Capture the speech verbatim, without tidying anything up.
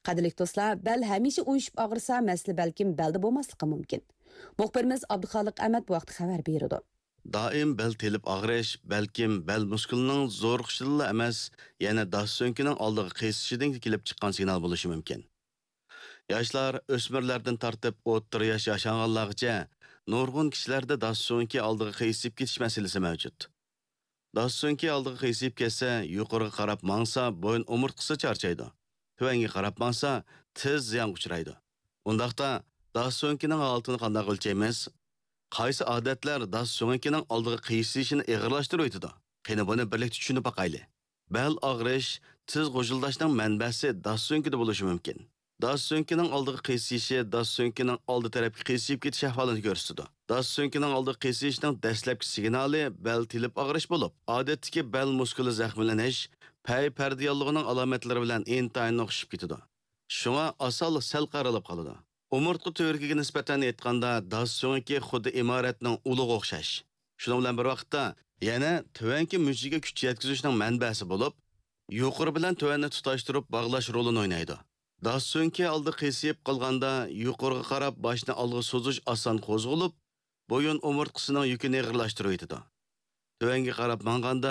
قەدىرلىك دوستلار، بەل ھەمىشە ئۇيۇشۇپ ئاغرىسا، مەسىلە بەلكىم بەلدە بولماسلىقى مۇمكىن. مۇخبىرىمىز ئابدۇخالىق ئەمەت بۇ ھەقتە خەۋەر بېرىدۇ. دائىم بەل تېلىپ ئاغرىش، بەلكىم بەل مۇسكۇلىنىڭ زورىقىشىدىنلا ئەمەس، يەنە داس سۆڭىكىنىڭ ئالدىغا قىيسىشىدىن كېلىپ چىققان سىگنال بولۇشى مۇمكىن. ياشلار، ئۆسمۈرلەردىن تارتىپ ئوتتۇرا ياش ياشانغانلارغىچە نۇرغۇن كىشىلەردە داس سۆڭىكى ئالدىغا قىيسىيىپ كېتىش مەسىلىسى مەۋجۇت. داس سۆڭىكى ئالدىغا قىيسىيىپ كەتسە، يۇقىرىغا قاراپ ماڭسا، بويۇن ئومۇرتقىسى چارچايدۇ. تۆۋەنگە قاراپ ماڭسا، تېز زىيانغا ئۇچرايدۇ. ئۇنداقتا، داس سۆڭىكىنىڭ ھالىتىنى قانداق ئۆلچەيمىز؟ قايسى ئادەتلەر داس سۆڭىكىنىڭ ئالدىغا قىيسىيىشىنى ئېغىرلاشتۇرۇۋېتىدۇ؟ قېنى، بۇنى بىرلىكتە چۈشىنىپ باقايلى. بەل ئاغرىش، تىز غۇژۇلداشنىڭ مەنبەسى داس سۆڭىكىدە بولۇشى مۇمكىن. داس سۆڭىكىنىڭ ئالدىغا قىيسىيىشى داس سۆڭىكىنىڭ ئالدى تەرەپكە قىيسىيىپ كېتىش ئەھۋالىنى كۆرسىتىدۇ. داس سۆڭىكىنىڭ ئالدىغا قىيسىيىشنىڭ دەسلەپكى سىگنالى بەل تېلىپ ئاغرىش بولۇپ، ئادەتتىكى بەل مۇسكۇلى زەخىملىنىش، پەي پەردە ياللۇغىنىڭ ئالامەتلىرى بىلەن ئىنتايىن ئوخشىشىپ كېتىدۇ. شۇڭا ئاسانلا سەل قارىلىپ قالىدۇ. ئومۇرتقا تۈۋرۈكىگە نىسبەتەن ئېيتقاندا، داس سۆڭىكى خۇددى ئىمارەتنىڭ ئۇلىغا ئوخشاش. شۇنىڭ بىلەن بىر ۋاقىتتا، يەنە تۆۋەنكى مۈججىگە كۈچ يەتكۈزۈشنىڭ مەنبەسى بولۇپ، يۇقىرى بىلەن تۆۋەننى تۇتاشتۇرۇپ باغلاش رولىنى ئوينايدۇ. داس سۆڭىكى ئالدى قىيسىيىپ قالغاندا، يۇقىرىغا قاراپ باشنى ئالغا سوزۇش ئاسان قوزغىلىپ، بويۇن ئومۇرتقىسىنىڭ يۈكىنى ئېغىرلاشتۇرۇۋېتىدۇ. تۆۋەنگە قاراپ ماڭغاندا،